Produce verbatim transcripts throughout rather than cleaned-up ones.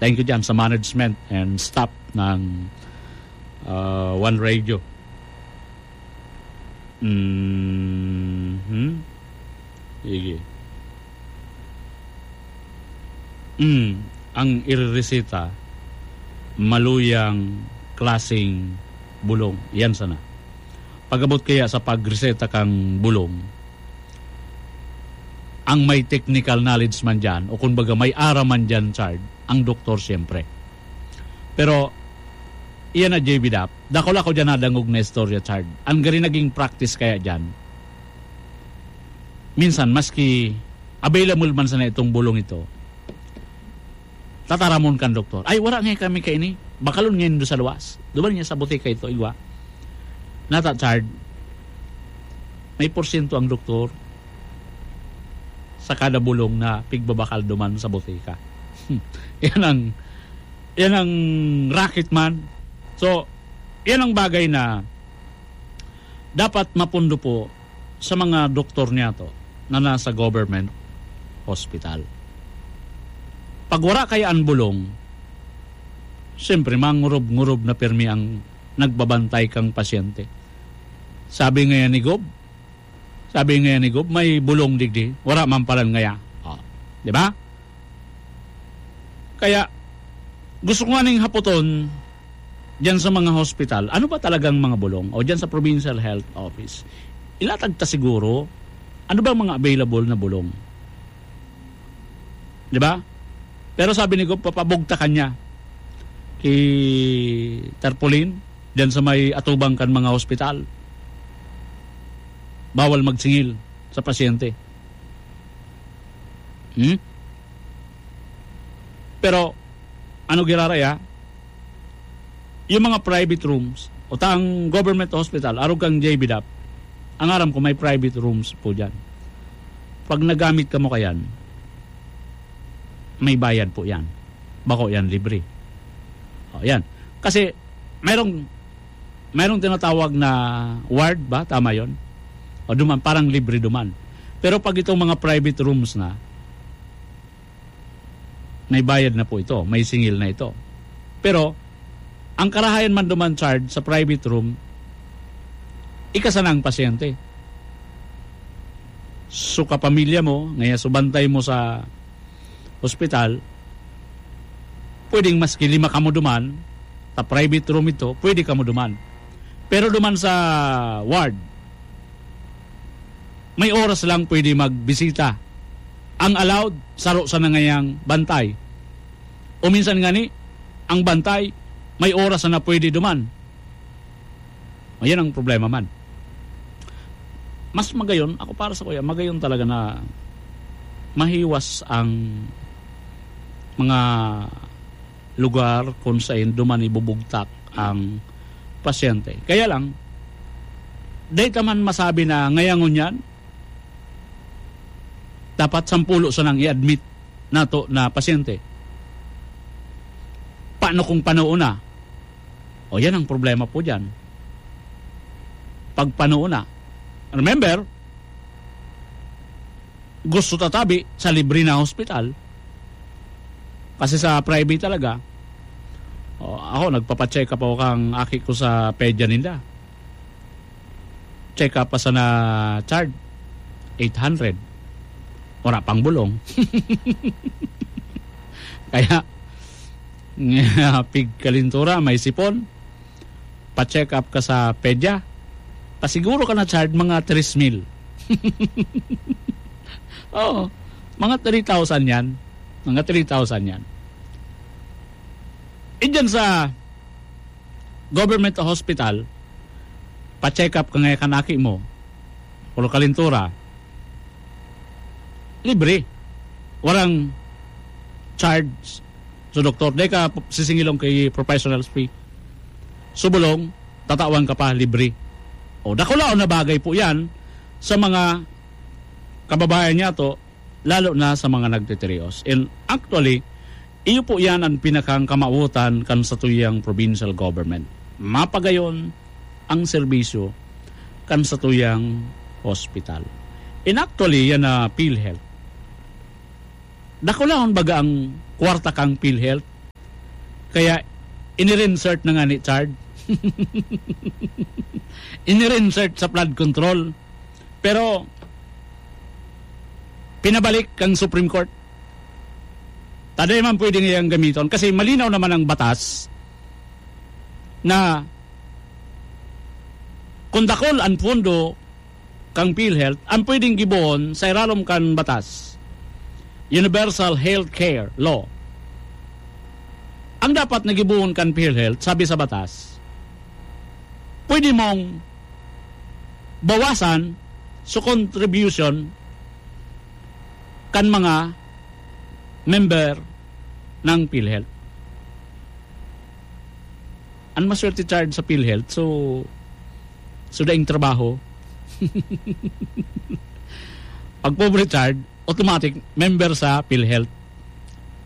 Thank you dyan sa management and staff ng, ah, One Radio. Mhm. Sige. Mm, ang irereseta, maluyang klaseng bulong. Yan sana. Pag-abot kaya sa pagreseta kang bulong, ang may technical knowledge man dyan, o kumbaga may aram man dyan, Chard, ang doktor siyempre. Pero, iyan na, J B Dap, dakula ko dyan nadangog na istorya, Chard. Ang gari naging practice kaya dyan, minsan, maski available man sana itong bulong ito, tataramon kan doktor. "Ay, wala nga kami kaini. Bakalon ngayon do sa luwas. Duman niya sa butika ito, igwa." Nata, Chard, may porsyento ang doktor sa kada bulong na pigbabakal duman sa butika. Yan ang, yan ang racket man. So, yan ang bagay na dapat mapundo po sa mga doktor niyato na nasa government hospital. Pag wala kaya ang bulong, siyempre, mangurub-ngurub na pirmi ang nagbabantay kang pasyente. Sabi ngayon ni Gob, sabi ngayon ni Gob, "May bulong digdi, wala man palan ngaya." Oh, di ba? Kaya, gusto ko nga ning hapoton, diyan sa mga hospital, ano ba talagang mga bulong? O diyan sa Provincial Health Office, ilatag ta siguro, ano ba mga available na bulong? Di ba? Pero sabi ni Gob, papabugtakan niya ki Tarpaulin, diyan sa may atubang kan mga hospital. Bawal magsingil sa pasyente. Hmm? Pero, ano giraray, ha? Yung mga private rooms, o tang government hospital, arog kang J B Dap, ang aram ko may private rooms po dyan. Pag nagamit ka mo kayan, may bayad po yan. Bako yan, libre. O, yan. Kasi, mayroong, mayroong tinatawag na ward ba? Tama yon. O duman, parang libre duman. Pero pag itong mga private rooms na, may bayad na po ito, may singil na ito. Pero, ang karahayan man duman, Chard, sa private room, ika sana ang pasyente. So, kapamilya mo, ngaya subantay mo sa ospital, pwedeng maski lima kamo duman, sa private room ito, pwede kamo duman. Pero duman sa ward, may oras lang pwede magbisita. Ang allowed, saro sana ngayang bantay. O minsan ngani, ang bantay, may oras na pwede duman. O, yan ang problema man. Mas magayon, ako para sa kuya, magayon talaga na mahiwas ang mga lugar kung saan duman ibubugtak ang pasyente. Kaya lang, dahil ta man masabi na ngayon ngunyan, dapat sampulo sanang i-admit nato na pasyente. Paano kung panoon na? O, yan ang problema po dyan. Pag panoon na. Remember, gusto tatabi sa libre na hospital. Kasi sa private talaga, o, ako, nagpapacheck up ako kang aki ko sa pedya ninda. Check up pa sana, Chard, eight hundred. Wala pang bulong. Kaya, pigkalintura, may sipon, pa-check up ka sa pedya, pasiguro ka na, Chard, mga tres mil. Oo, mga three thousand yan. Mga three thousand yan. E dyan sa government hospital, pa-check up ka nga kan aki mo, puro kalintura, libre. Warang charge sa doktor. Dai ka sisingilong ki professionals fee. Subolong, tatawan ka pa, libre. O, dakulaon na bagay po yan sa mga kababayan niyato, lalo na sa mga nagtitirios. And actually, iyo po yan ang pinakang kamawotan kan satuyang provincial government. Mapagayon ang serbisyo kan satuyang hospital. And actually, yan na PhilHealth. Dakulahon baga ang kwarta kang PhilHealth? Kaya, inirinsert na nga ni Chard. Inirinsert sa flood control. Pero, pinabalik kang Supreme Court. Taday man pwede ngayang gamiton. Kasi malinaw naman ang batas na kung dakul ang pondo kang PhilHealth, ang pwedeng gibohon sa iralom kan batas, Universal Health Care Law. Ang dapat na gibohon kan PhilHealth, sabi sa batas, pwede mong bawasan sa contribution kan mga member ng PhilHealth. Ang maswerte, Chard, sa PhilHealth, so, so daing trabaho. Pag pobre, Chard, automatic member sa PhilHealth.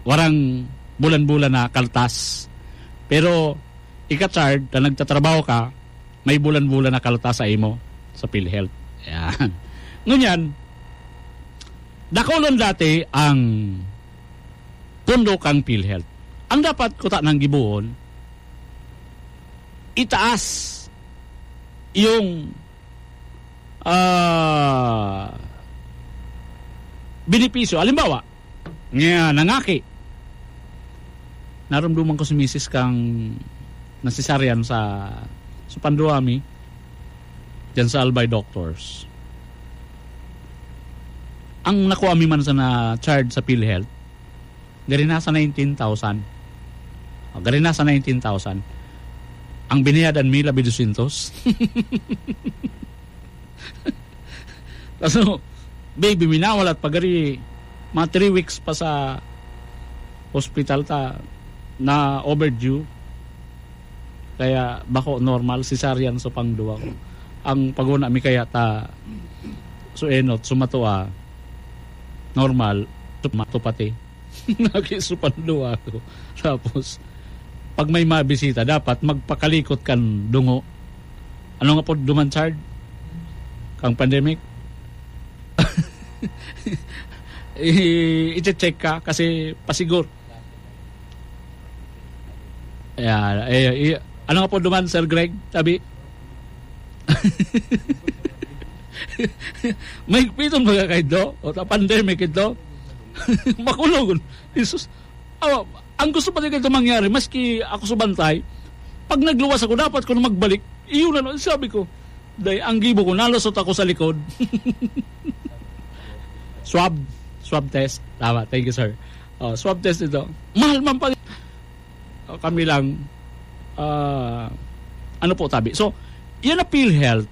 Warang bulan-bulan na kaltas. Pero, ika, Chard, na nagtatrabaho ka, may bulan-bulan na kaltas sa imo sa PhilHealth. Yan. Ngunyan, dakulon dati ang pondo kang PhilHealth. Ang dapat kuta nang gibohon, itaas yung, ah, benepisyo. Halimbawa, nga nangaki, narumduman ko si misis kang nasisaryan sa, sa Panduami, dyan sa Albay Doctors. Ang nakuha mi man sa na-charge sa PhilHealth, gari nasa nineteen thousand. O, gari nasa nineteen thousand. Ang binayadan mi, labi dosyentos. Kaso, baby, minawalat pa gari, mga three weeks pa sa hospital ta, na overdue. Kaya bako normal, cesarean so pangduwa ko. Ang paguna mi kaya ta, so enot, so matua, normal, so mato pati. Naki so pangduwa ko. Tapos, pag may mabisita, dapat magpakalikot kan dungo. Ano nga po duman, Chard? Kang pandemic? I-, i-check ka kasi pasigur. Ayan, eh, i-, ano nga po duman, Sir Greg? Sabi? Mahigpiton baga kayo do? O ta pandemic ito? Makulog. Jesus. Awa, ang gusto pa din ito mangyari, maski ako sa bantay, pag nagluwas ako, dapat ko na magbalik. Iyon na, sabi ko, dahil ang gibo ko, nalusot ako sa likod. Swab. Swab test. Tama. Thank you, sir. Oh, swab test ito. Mahal man pa. Oh, kami lang. Ah, ano po, tabi? So, yan ang PhilHealth.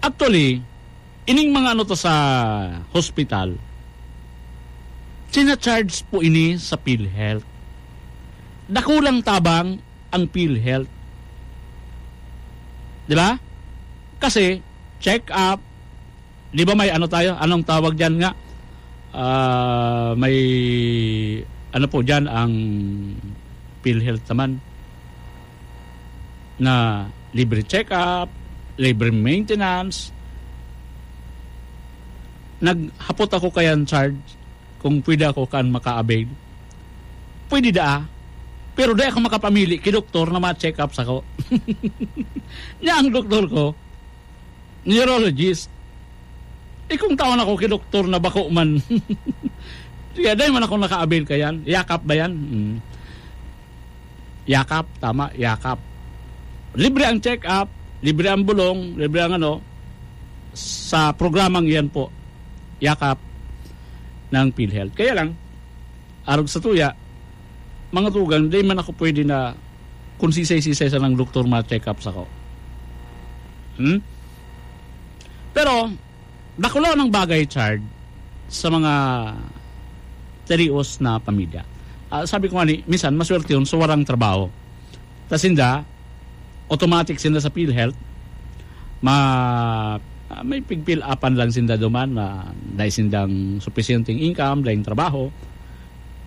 Actually, ining mga ano to sa hospital, sina-charge po ini sa PhilHealth. Dakulang tabang ang PhilHealth. Di ba? Kasi, check-up, di ba may ano tayo? Anong tawag dyan nga? Ah, may, ano po dyan, ang PhilHealth naman na libre check-up, libre maintenance. Naghapot ako kayan, Chard, kung pwede ako kan maka-avail. Pwede daa. Pero di ako makapamili ki doktor na ma-check up sako. Nya ang doktor ko, neurologist. Eh, kung tawan ako ki doktor na bako man. Sige, dai man ako naka-avail kayan. Yakap ba yan? Hmm. Yakap, tama, Yakap. Libre ang check-up, libre ang bulong, libre ang ano, sa programang iyan po, Yakap ng PhilHealth. Kaya lang, arog sa tuya, mga tugang, di man ako pwede na kung sisay-sisay sa ng doktor ma-check-up sako. Hmm? Pero, dakulaw ng bagay, Chard, sa mga tirios na pamilya. Ah, sabi ko nga ni, minsan, maswerte yun, so warang trabaho. Ta sinda, automatic sinda sa PhilHealth, ma-, ah, may pigpil-apan lang sinda duman, na dai sindang supisyenteng income, daing trabaho,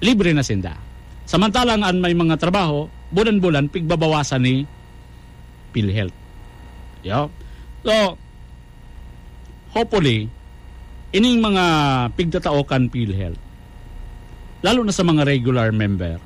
libre na sinda. Samantalang an may mga trabaho, bulan-bulan, pigbabawasan ni PhilHealth. Yo. So, hopefully, ining mga pigtatao kan PhilHealth, lalo na sa mga regular member,